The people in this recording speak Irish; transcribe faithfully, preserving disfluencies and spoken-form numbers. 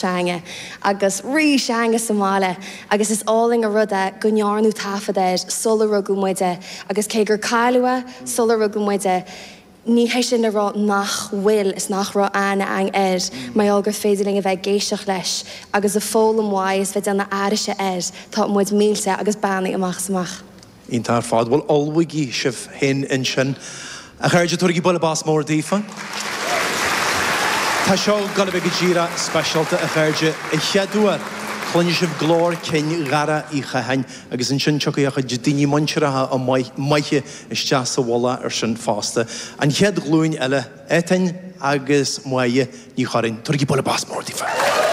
Teanga agus rith teanga sa mbaile agus is álainn an rud é go ndearnadh taifead air sular rugadh muide agus cé gur cailleadh é sular rugadh muide, ní hé sin le rá nach bhfuil is nach raibh aithne againn air mar gheall gur féidir linn a bheith ag éisteacht leis agus ag foghlaim uaidh is bheith ag déanamh aithrise air, tá muid millte agus beannaithe amach is amach. Iontach ar fad. Bhuel, ullmhaígí sibh féin ansin. A chairde, tabhairigí bualadh bos mór daofa. Tá seo ag gabháil a bheith go díreach speisialta, a chairde. An chéad uair, cluinfidh sibh glór cinn Dhara Uí Chatháin agus ansin tiocfaidh a chuid daoine muinteartha maithe isteach sa mhullach ar sin fosta. An chéad ghlúin eile, Étain agus Máire Ní Churraoin. Tabhairigí bualadh bos mór daofa.